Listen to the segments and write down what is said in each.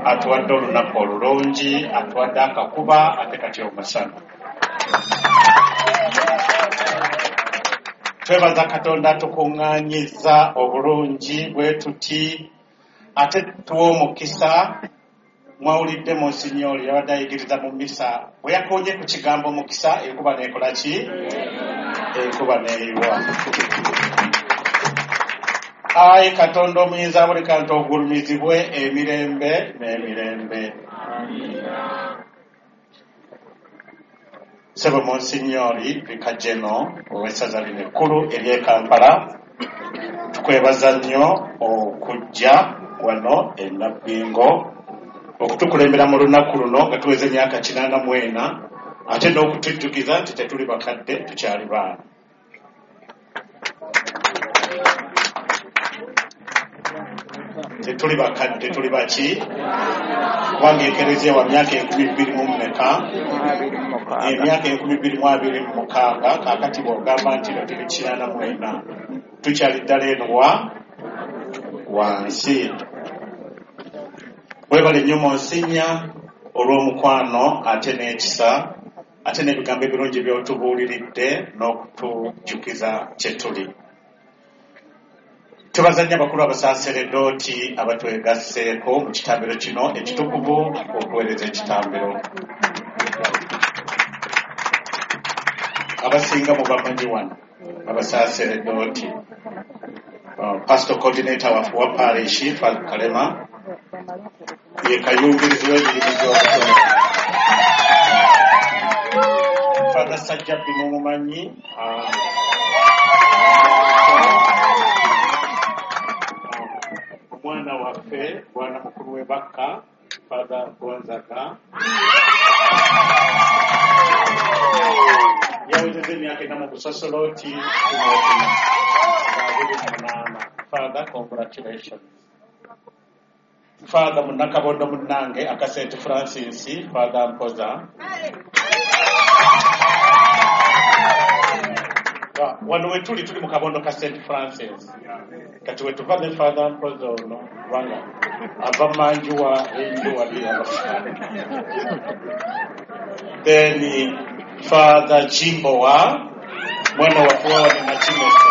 Atuwadde olunaku olulungi, atuwadde akakuba ate kati omusana. Twebaza Katonda atukuŋŋaanyiza obulungi bwe tuti, ate tuwa omukisa. Mwawulidde Monsignori yabadde ayigiriza mu misa, bwe yakoonye ku kigambo mukisa, enkuba n'ekola ki? Enkuba n'eyiwa. Ayi Katonda omuyinza buli kantu, ogulumizibwe emirembe n'emirembe. Ssebo Monsignori Vicar General ow'essaza lino ekkulu ery'e Kampala, tukwebaza nnyo okujja wano e Nabbingo okutukulembera mu lunaku luno nga tuweza emyaka 84, ate n'okutujjukiza nti tetuli bakadde, tukyali baana. Tetuli bakadde, tuli baki? Kubanga ekereziya wa myaka enkumi bbiri mu mmeka? Emyaka 2026. Kaakati bw'ogamba nti no tuli 84, tukyali ddala eno wa wansi. Webale nnyo Monsignor olw'omukwano ate n'ekisa ate n'ebigambo ebirungi by'otubuuliridde n'okutujjukiza kye tuli. Twebaza nnyo abakulu abasaaseredooti abatwegasseeko mu kitambiro kino ekitukuvu okuweereza ekitambiro. Abasinga mubamanyi wano abasaaseredooti. Pastor coordinator waffe wa parish, Father Kalema, ye kayungirizi w'emirimu gy'obutonde. Father Sajjabbi mumumanyi, omwana waffe bwana mukulu w'e Bakka, Father Gonzaga, yawezezza emyaka 4 mu busasolooti 28. Father, congratulations. Father munnakabondo munnange aka St Francis, Father Mpoza. Wano wetuli tuli mu kabondo ka St Francis, kati wetuva ne Father Mpoza ono kubanga ava manjuwa enju wali. Then Father Jimbowa, mwana waffe wano Nakimese,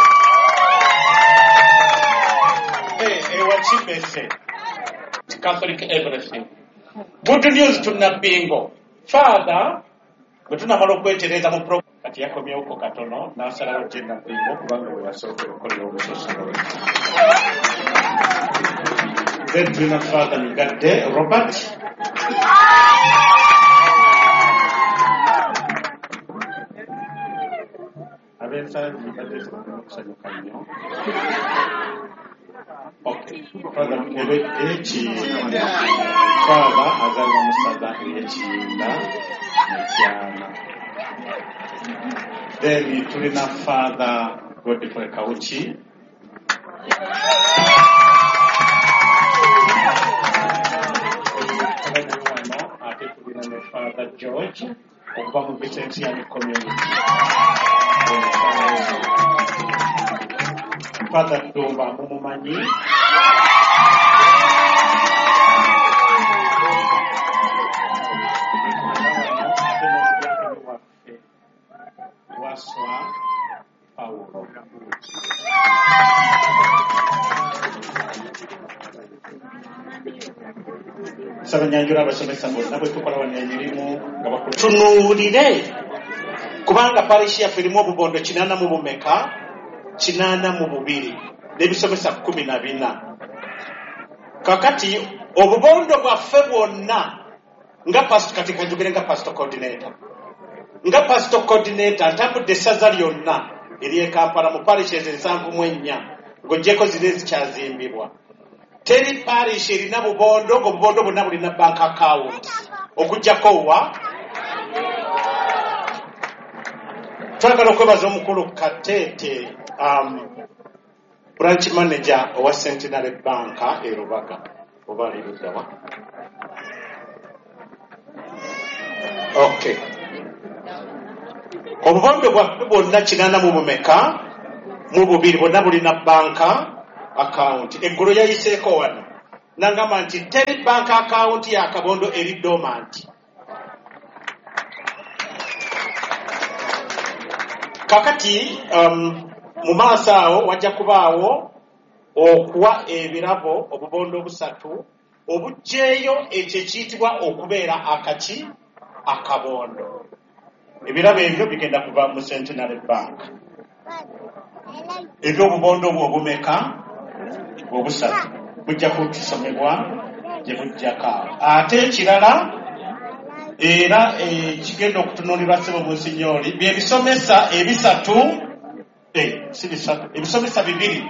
ewa Kimese Catholic everything. Good news to Nabbingo. Father bwe tunamala okwetereza mu pro, kati yakomyewoko katono n'asalawo gye Nabbingo kubanga we yasookera okukolera obusosoloozi. Then tulina Father Migadde Robert. Ab'ensangi badde sibalina okusanyuka nnyo. Okay. Father Ekiyinda. Father azaalibwa mu ssaza ery'Ekiyinda Mityana. Then tulina Father Godfrey Kawuki. Wano ate tulina ne Father George okuva mu Vincentian Community. Father Ddumba mumumanyi. Ate n'omudiakoni waffe Waswa Pawulo. Nsaba nyanjula abasomesa bonna bwe tukola wano emirimu nga bakulu. Tunuulire kubanga parish yaffe erimu obubondo 80 mu bumeka? 82 n'ebisomesa 14. Kakati obubondo bwaffe bwonna nga pastor, kati kanjogere nga pastor coordinator, nga pastor coordinator ntambudde essaza lyonna ery'e Kampala mu parishes 74 ng'oggyeko ziri ezikyazimbibwa. Teri parish erina bubondo ng'obubondo bwonna bulina bank account okuggyako wa. Twagala okwebaza omukulu Kateete, branch manager owa Centenary Bank e Rubaga, oba ali luddawa? Okay, obubondo bwaffe bwonna 82 mu bumeka? Mu bubiri bwonna bulina banka account. Eggulo yayiseeko wano. Nangamba nti teri bank account ya kabondo eri dormant. Kakati mu maaso awo wajja kubaawo okuwa ebirabo obubondo busatu obuggyeeyo ekyo ekiyitibwa okubeera akaki akabondo. Ebirabo ebyo bigenda kuva mu Centenary Bank. Ebyobubondo obwo obumeka obusatu bujja kutusomebwa gye bujjako awo. Ate ekirala era ekigenda okutunuulirwa ssebo Munsinyooli bye bisomesa ebisatu, si bisatu, ebisomesa bibiri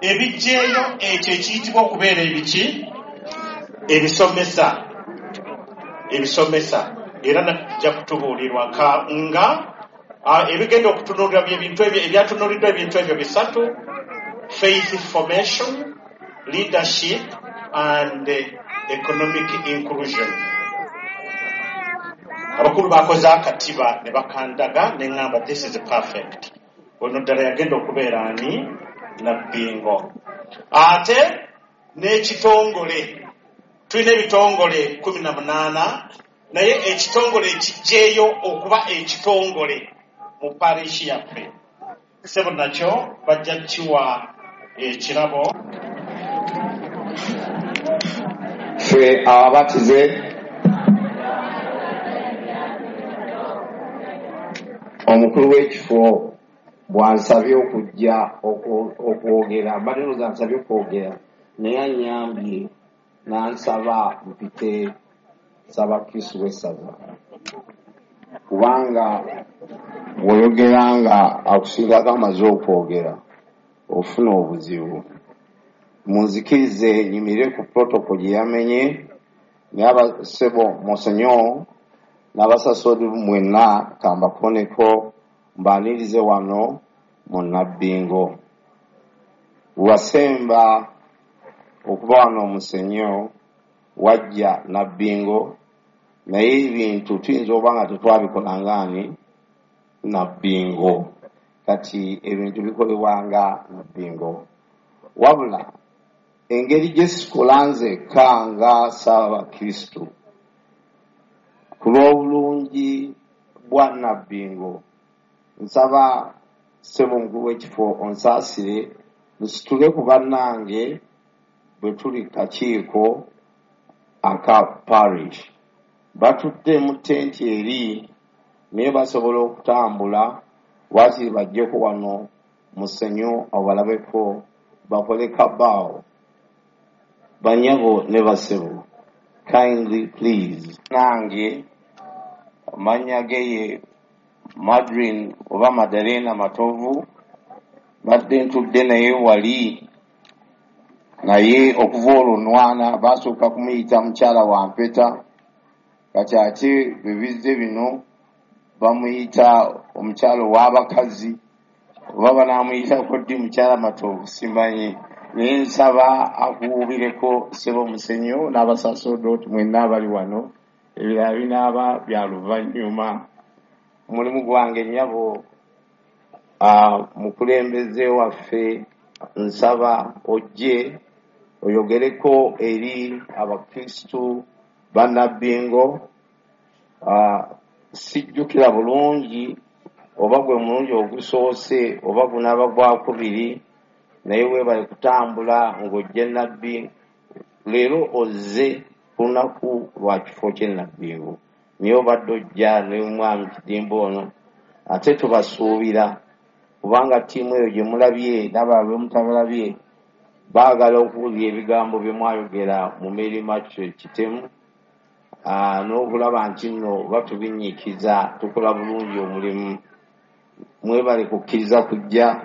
ebiggyeeyo ekyo ekiyitibwa okubeera ebiki ebisomesa ebisomesa era najja kutubuulirwa nga ebigenda okutunuulirwa byebintu ebyo ebyatunuuliddwa ebintu ebyo bisatu: faith formation, leadership and economic inclusion. Abakulu bakoze akatiba ne bakandaga ne ŋŋamba this is perfect. Ono ddala yagenda okubeera ani Nabbingo. Ate n'ekitongole, tulina ebitongole 18, naye ekitongole ekijjeeyo okuba ekitongole mu parish yaffe ssebo nakyo bajja kiwa ekirabo. Ffe ababatize omukulu w'ekifo bw'ansabye okujja okwogera, mbadde ndowooza ansabye okwogera naye annyambye n'ansaba mpite Ssaabakristu w'essaza, kubanga bw'oyogera nga akusingako amaze okwogera ofuna obuzibu. Munzikirize nyimirire ku protocol gye yamenye, naye abasebo Monsenyor n'abasasoodi mwenna kambakoneko mbaanirize wano mu Nabbingo. Wasemba okuba wano Monsenyor wajja Nabbingo, naye ebintu tuyinza okuba nga tetwabikola ngaani Nabbingo. Kati ebintu bikolebwa nga Nabbingo. Wabula engeri gye sikola nzekka nga Ssaabakristu ku lw'obulungi bwa Nabbingo, nsaba ssebo omukulu w'ekifo onsaasire nsitule ku bannange bwe tuli kakiiko aka parish. Batudde mu tenti eri naye basobola okutambula waakiri bajjeko wano Musenyu obalabeko bakole kabaawo. Banyabo ne basebo, kindly please. Nange amannya ge ye Madrine oba Madalena Matovu, badde ntudde naye wali, naye okuva olwo nwana basooka kumuyita mukyala wa mpeta, kati ate bwe bizze bino bamuyita omukyala ow'abakazi, oba banaamuyitako ddi mukyala Matovu simanyi, naye nsaba akuwuubireko ssebo Musenyu n'abasasodooti mwenna abali wano, ebirala binaaba bya luvannyuma. Omulimu gwange nnyabo mukulembeze waffe, nsaba ojje oyogereko eri abakristu ba Nabbingo. Sijjukira bulungi oba gwe mulungi ogusoose oba gunaaba gwakubiri, naye weebale kutambula ng'ojja Nabbi. Leero ozze ku lunaku lwa kifo ky'e Nabbingo, naye obadde ojja ne mwami Kidimbo ono, ate tubasuubira kubanga ttiimu eyo gye mulabye n'abalala be mutabalabye baagala okuwulira ebigambo bye mwayogera mu Mary Matthew Kitemu, n'okulaba nti nno batubinyiikiza tukola bulungi omulimu. Mwebale kukkiriza kujja.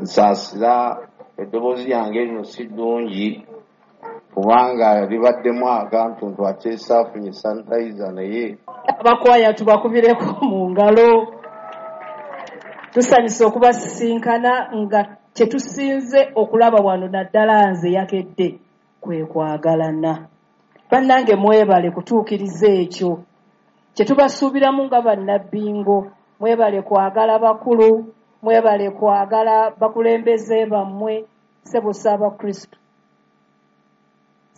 Nsaasira eddoboozi lyange lino si ddungi kubanga libaddemu akantuntu ate saafunye sanitizer, naye abakwaya tubakubireko mu ngalo. Tusanyuse okubasisinkana nga kye tusinze okulaba wano naddala nze yakedde kwe kwagalana. Bannange mwebale kutuukiriza ekyo kye tubasuubiramu nga bannabbingo. Mwebale kwagala bakulu, mwebale kwagala bakulembeze bammwe, ssebo Ssaabakristu.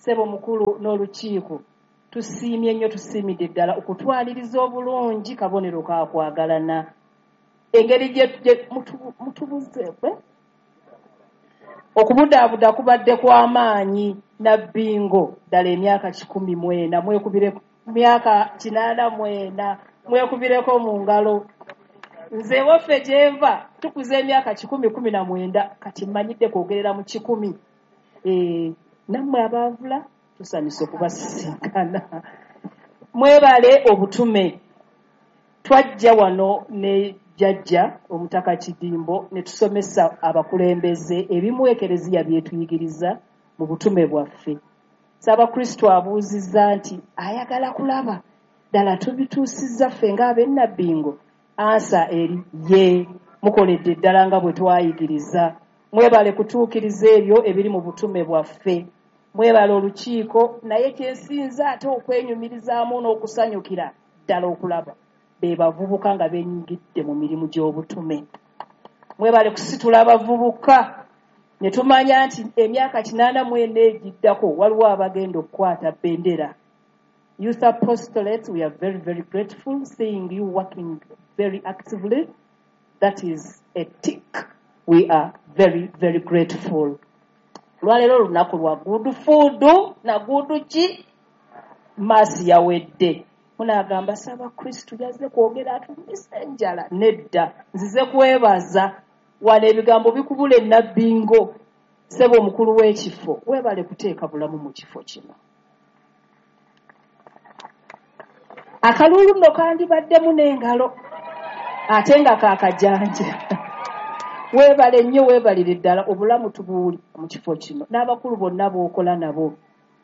Ssebo mukulu n'olukiiko, tusiimye nnyo, tusiimidde ddala okutwaliriza obulungi kabonero ka kwagalana. Engeri gye mutubuze okubudaabuda kubadde kw'amaanyi. Nabbingo ddala emyaka 104, mwekubire myaka 84, mwekubireko mu ngalo. Nze waffe gyenva tukuza emyaka 119, kati mmanyidde kwogerera mu 100. Nammwe abaavula tusanyuse okubasisinkana. Mwebale obutume. Twajja wano ne jjajja Omutaka Kidimbo ne tusomesa abakulembeze ebimu Ekereziya byetuyigiriza mu butume bwaffe. Ssaabakristo abuuzizza nti ayagala kulaba ddala tubituusizza ffe ng'ab'ennabbingo. Ansa eri ye, mukoledde ddala nga bwe twayigiriza. Mwebale kutuukiriza ebyo ebiri mu butume bwaffe. Mwebale olukiiko, naye kyensinza ate okwenyumirizaamu n'okusanyukira ddala okulaba be bavubuka nga benyigidde mu mirimu gy'obutume. Mwebale kusitula abavubuka ne tumanya nti emyaka 84 egiddako waliwo abagenda okukwata bendera. Youth Apostolate, we are very, very grateful seeing you working very actively. That is a tick. We are very, very grateful. Lwaleero olunaku lwa good food na good ki maasi yawedde. Munaagamba Ssaabakristu yazze kwogera atumise enjala. Nedda, nzize kwebaza. Wano ebigambo bikubula ennabbingo. Ssebo omukulu w'ekifo, weebale kuteeka bulamu mu kifo kino. Akaluulu nno kandibaddemu n'engalo ate nga kaakajanja. Weebale nnyo, weebalire ddala, obulamu tubuwuli mu kifo kino n'abakulu bonna b'okola nabo.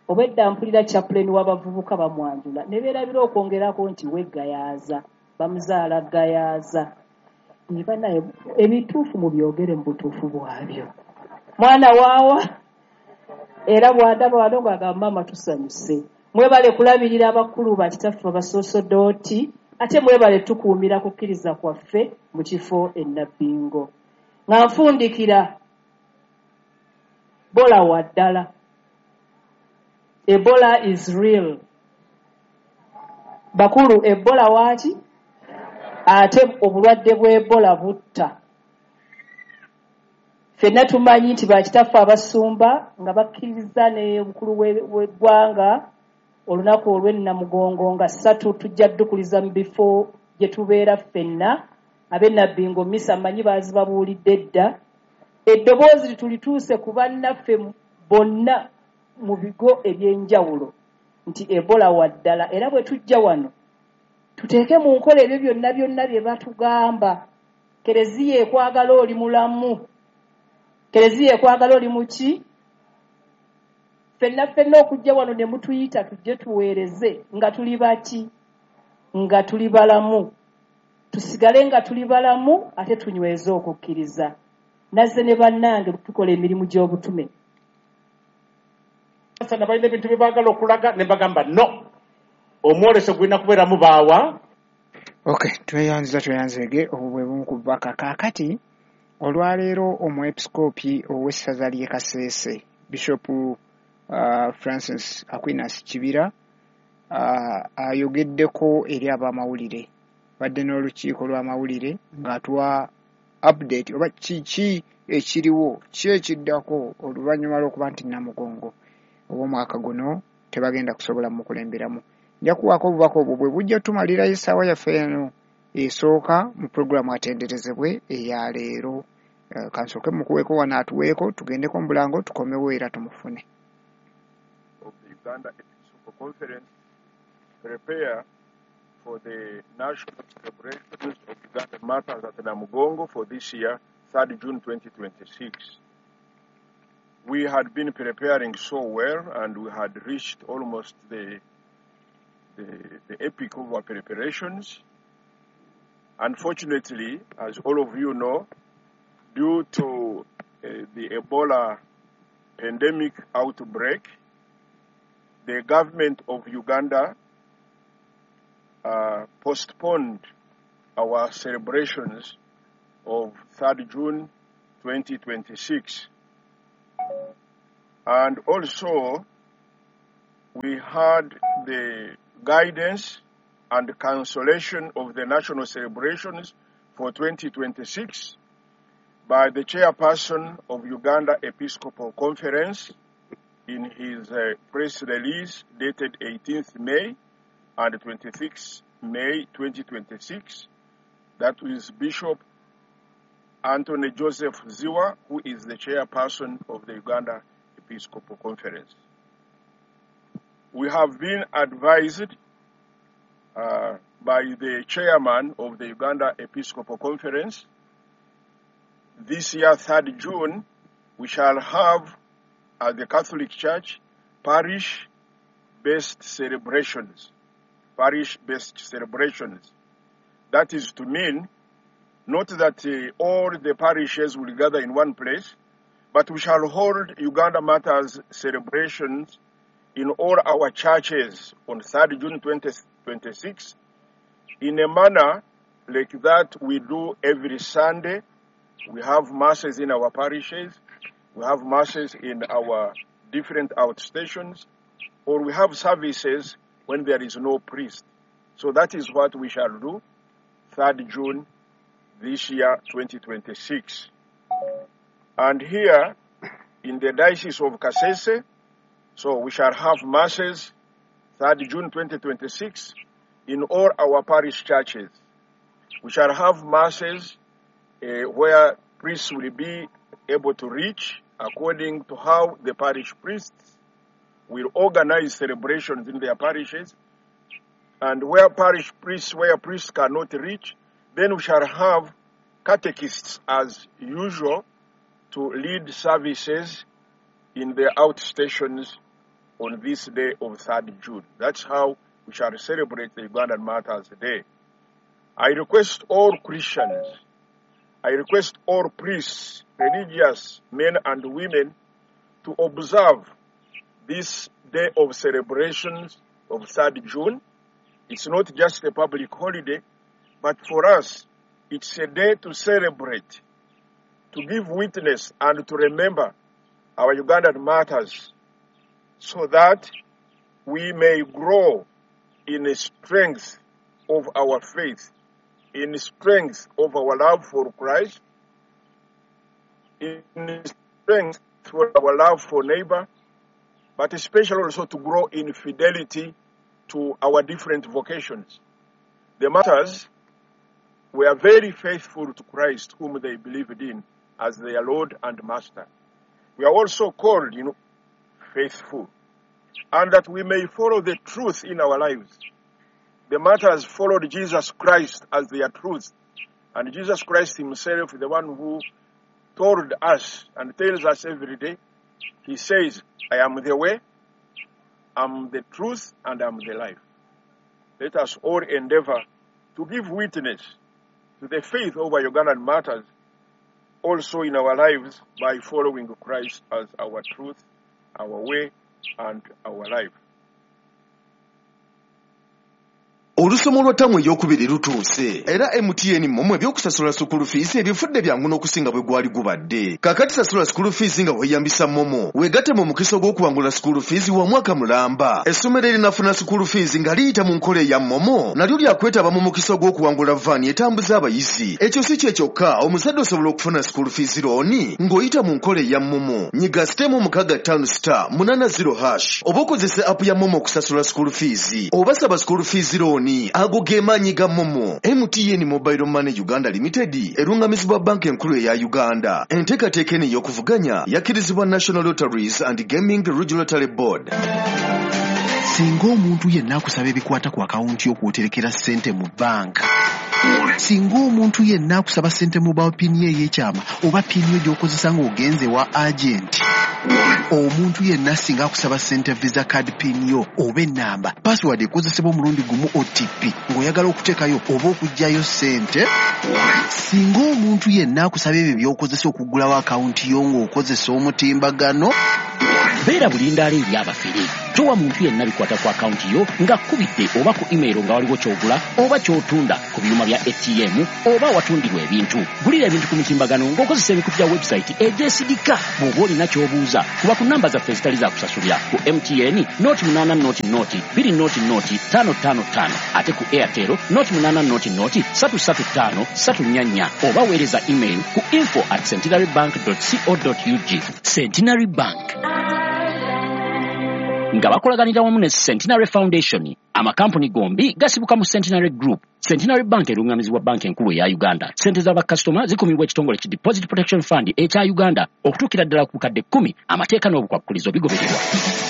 Obwedda mpulira chaplain w'abavubuka bamwanjula ne beerabira okwongerako nti weggayaaza, bamuzaala ggayaaza. Banaye ebituufu mubyogere mu butuufu bwabyo. Mwana waawa era bw'andaba wano ng'agamba maama tusanyuse. Mwebale kulabirira abakulu bakitaffe abasosodooti, ate mwebale tukuumira kukkiriza kwaffe mu kifo ennabbingo. Nga nfundikira, Ebola wa ddala. Ebola is real. Bakulu, Ebola waaki? Ate obulwadde bw'Ebola butta. Ffenna tumanyi nti bakitaffe abasumba nga bakkiriza ne omukulu w'eggwanga olunaku olw'ennamugongo nga 3 tujja ddukuliza mu bifo gye tubeera ffenna. Ab'ennabbingo misa mmanyi baazibabuulidde dda. Eddoboozi tulituuse ku bannaffe bonna mu bigo eby'enjawulo nti Ebola wa ddala, era bwe tujja wano tuteeke mu nkola ebyo byonna byonna bye batugamba. Kereziya ekwagala oli mulamu, Kereziya ekwagala oli muki. Ffenna ffenna okujja wano ne mutuyita tujje tuweereze nga tuli baki, nga tuli balamu, tusigale nga tuli balamu ate tunyweze okukkiriza. Nazze ne bannange tukola emirimu gy'obutume. Sana balina ebintu bye baagala okulaga ne bagamba no, omwoleso gulina kubeeramu baawa. Okay, tweyanziza tweyanzeege, obwo bwe bumu ku bubaka. Kaakati olwaleero omwepisikoopi ow'essaza ly'e Kasese, Bishop Francis Aquinas Kibira, ayogeddeko eri ab'amawulire. Badde n'olukiiko lw'amawulire ng'atuwa update oba kiki ekiriwo, ki ekiddako oluvannyuma lw'okuba nti Namugongo ow'omwaka guno tebagenda kusobola mukulemberamu. Nja kuwaako obubaka obwo bwe bujja tumalirayo essaawa yaffe eno esooka mu pulogulaamu atenderezebwe eya leero. Kansooke mukuweeko wano atuweeko, tugendeko mu bulango tukomewo era tumufune. Of the Uganda Episcopal Conference prepare for the national celebrations of Uganda Martyrs at Namugongo for this year, 3rd June 2026. We had been preparing so well and we had reached almost the epic of our preparations. Unfortunately, as all of you know, due to the Ebola pandemic outbreak, the government of Uganda postponed our celebrations of 3rd June 2026. And also, we had the guidance and cancellation of the national celebrations for 2026 by the chairperson of Uganda Episcopal Conference in his press release dated 18th May and 26th May 2026. That is Bishop Anthony Joseph Zziwa, who is the chairperson of the Uganda Episcopal Conference. We have been advised by the chairman of the Uganda Episcopal Conference. This year, 3rd June, we shall have at the Catholic Church parish-based celebrations. Parish-based celebrations. That is to mean not that all the parishes will gather in one place, but we shall hold Uganda Matters celebrations in all our churches on 3rd June 2026 in a manner like that we do every Sunday. We have masses in our parishes, we have masses in our different outstations, or we have services when there is no priest. So that is what we shall do 3rd June this year, 2026. And here in the Diocese of Kasese, so we shall have masses 3rd June 2026 in all our parish churches. We shall have masses where priests will be able to reach according to how the parish priests will organize celebrations in their parishes. And where parish priests, where priests cannot reach, then we shall have catechists as usual to lead services in the outstations on this day of 3rd June. That's how we shall celebrate the Ugandan Martyrs Day. I request all Christians, I request all priests, religious men and women to observe this day of celebrations of 3rd June. It's not just a public holiday, but for us, it's a day to celebrate, to give witness and to remember our Ugandan martyrs so that we may grow in the strength of our faith, in the strength of our love for Christ, in the strength for our love for neighbor, but especially also to grow in fidelity to our different vocations. The martyrs were very faithful to Christ, whom they believed in as their Lord and Master. We are also called, faithful, and that we may follow the truth in our lives. The martyrs followed Jesus Christ as their truth, and Jesus Christ himself, the one who told us and tells us every day, he says, I am the way, I am the truth, and I am the life. Let us all endeavor to give witness to the faith of our Ugandan martyrs also in our lives by following Christ as our truth, our way, and our life. Olusomo lwa ttamu ey'okubiri lutuuse era MTN MoMo ebyokusasula school fees ebifudde byangu n'okusinga bwe gwali gubadde. Kaakati sasula school fees nga weeyambisa MoMo, weegatte mu mukisa ogw'okuwangula school fees wa mwaka mulamba. Essomero erinafuna school fees nga liyita mu nkola eya MoMo nalyo lyakwetaba mu mukisa ogw'okuwangula van etambuza abayizi. Ekyo si kye kyokka, omuzadde osobola okufuna school fees loan ng'oyita mu nkola eya MoMo. Nyiga *658*80# oba okozese app ya MoMo okusasula school fees oba saba school fees loan. Ago ge maanyi ga MoMo. MTN Mobile Money Uganda Limited erungamizibwa banka enkulu eya Uganda. Enteekateeka eno ey'okuvuganya yakkirizibwa National Lotteries and Gaming Regulatory Board. Singa omuntu yenna akusaba ebikwata ku akawunti y'okwoterekera ssente mu banka, singa omuntu yenna akusaba ssente mobile PIN ye ey'ekyama oba PIN yo gy'okozesa ng'ogenze wa agenti, omuntu yenna singa akusaba ssente visa card PIN yo oba ennamba password ekozesebwa omulundi gumu OTP ng'oyagala okuteekayo oba okuggyayo ssente, singa omuntu yenna akusaba ebyo by'okozesa okuggulawo akawunti yo ng'okozesa omutimbagano, Beera bulindaala eri abafere. Towa muntu yenna bikwata ku akawunti yo ng'akkubidde oba ku email nga waliwo ky'ogula oba ky'otunda ku byuma bya ATM oba awatundirwa ebintu. Gulira ebintu ku mitimbagano ng'okozesa emikutu gya website egyesigika. Bw'oba olina ky'obuuza, kuba ku namba zaffe ezitali za kusasulira ku MTN 080 0 20 0 555, ate ku Airtel 080 0 335 344, oba weereza email ku info@centenarybank.co.ug. Centenary Bank nga bakolaganira wamu ne Centenary Foundation. Amakampuni gombi gasibuka mu Centenary Group. Centenary Bank erungamizibwa Banka Enkulu eya Uganda. Sente z'abakasitoma zikumibwa ekitongole ki Deposit Protection Fund ekya Uganda okutuukira ddala ku bukadde 10. Amateeka n'obukwakkulizo bigobererwa.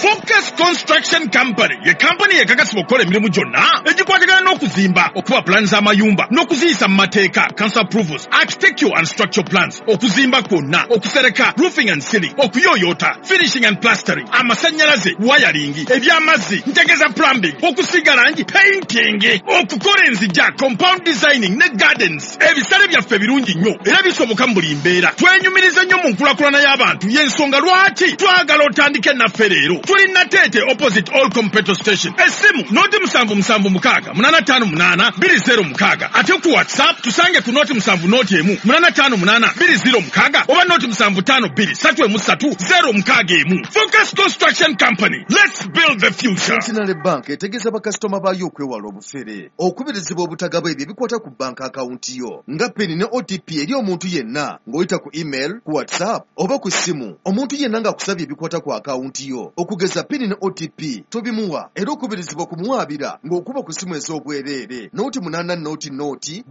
Focus Construction Company ye kampani ekakasibwa okukola emirimu gyonna egikwatagana n'okuzimba, okuba pulaani z'amayumba n'okuziyisa mu mateeka, council approvals, architectural and structural plans, okuzimba kwonna, okusereka, roofing and ceiling, okuyooyoota, finishing and plastering, amasannyalaze, wiring, eby'amazzi, ntegeza plumbing, okusiiga langi, painting, okukola enzija, compound designing ne gardens. Ebisale byaffe birungi nnyo era bisoboka mu buli mbeera. Twenyumiriza nnyo mu nkulaakulana y'abantu, y'ensonga lwaki twagala otandike naffe leero. Tuli Nateete, opposite Olcom petrol station. Essimu 077 658 206, ate ku WhatsApp tusange ku 070 1 858 206 oba 075 2 3 3 061. Focus Construction Company, let's build the future. Centenary Bank etegeeza bakasitoma baayo okwewala obufere, okubirizibwa obutagaba ebyo ebikwata ku banka akawunti yo nga PIN ne OTP eri omuntu yenna ng'oyita ku email, ku WhatsApp oba ku ssimu. Omuntu yenna ng'akusabye ebikwata ku akawunti yo, okugeza PIN ne OTP, tobimuwa, era okubirizibwa kumuwaabira ng'okuba ku ssimu ez'obwereere 080 0 2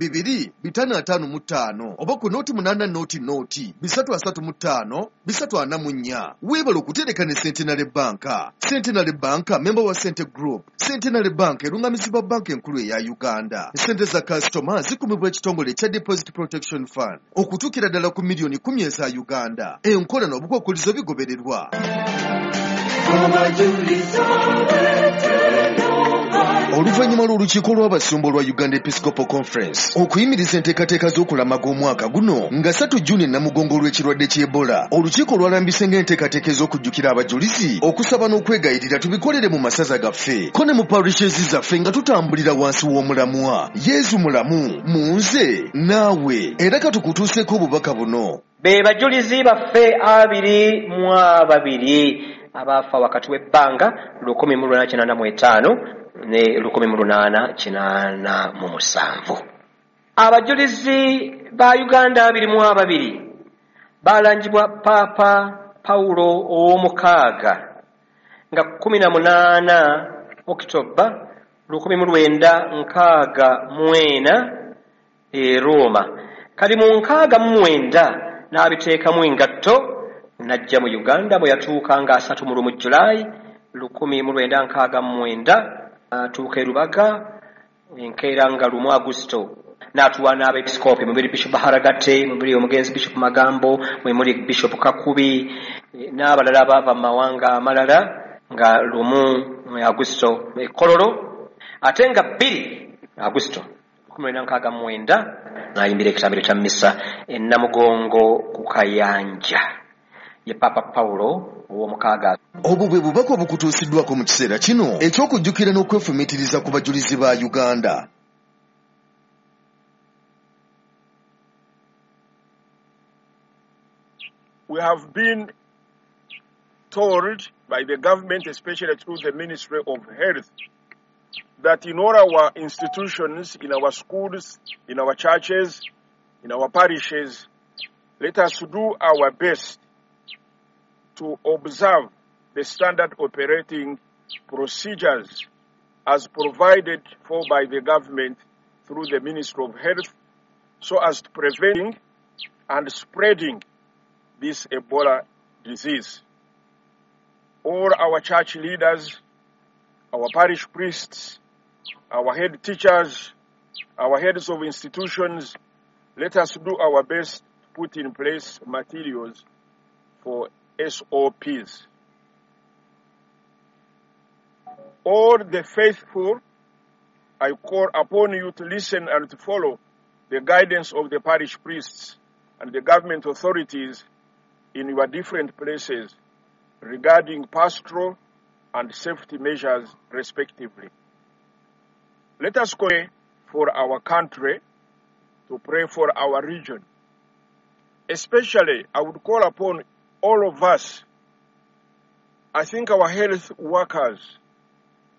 555 oba ku 080 0 335 344. Weebale okutereka ne Centenary Bank. Centenary Bank memba wa Sente Group. Centenary Bank erungamizibwa Banka Enkulu eya Uganda. Sente za kasitoma zikumibwa ekitongole ekya Deposit Protection Fund okutuukira ddala ku miliyoni 10 eza Uganda. Enkola n'obukwakkulizo bigobererwa. Oluvannyuma lw'olukiiko lw'abasumba olwa Uganda Episcopal Conference okuyimiriza enteekateeka z'okulamaga omwaka guno nga 3 Juni Namugongo olw'ekirwadde ky'Ebola, olukiiko lwalambise ng'enteekateeka ez'okujjukira abajulizi, okusaba n'okwegayirira tubikolere mu masaza gaffe ko ne mu parishes zaffe nga tutambulira wansi w'omulamwa "Yezu mulamu mu nze naawe". Era katukutuuseeko obubaka buno. Be bajulizi baffe 22 abaafa wakati w'ebbanga 1885 ne 1887. Abajulizi ba Uganda 22 balangibwa Paapa Pawulo ow'omukaaga nga 18 Okitoba 1964 e Roma. Kali mu 69 n'abiteekamu engatto n'ajja mu Uganda, bwe yatuuka nga 31 Julayi 1969, atuuka e Rubaga enkeera nga 1 Agusito, n'atuwa n'abepisikoopi mubiri Bishop Baharagate, mubiri omugenzi Bishop Magambo, mwe muli Bishop Kakubi n'abalala abaava mu mawanga amalala, nga 1 Agusito e Kololo, ate nga 2 Agusito 1969 n'ayimbira ekitambiro kya misa e Namugongo ku Kayanja, ye Papa Pawulo ow'omukaaga. Obwo bwe bubaka obukutuusiddwako mu kiseera kino eky'okujjukira n'okwefumiitiriza ku bajulizi ba Uganda. We have been told by the government, especially through the Ministry of Health, that in all our institutions, in our schools, in our churches, in our parishes, let us do our best to observe the standard operating procedures as provided for by the government through the Ministry of Health, so as to preventing and spreading this Ebola disease. All our church leaders, our parish priests, our head teachers, our heads of institutions, let us do our best to put in place materials for SOPs. All the faithful, I call upon you to listen and to follow the guidance of the parish priests and the government authorities in your different places regarding pastoral and safety measures respectively. Let us pray for our country, to pray for our region. Especially, I would call upon all of us. I think our health workers,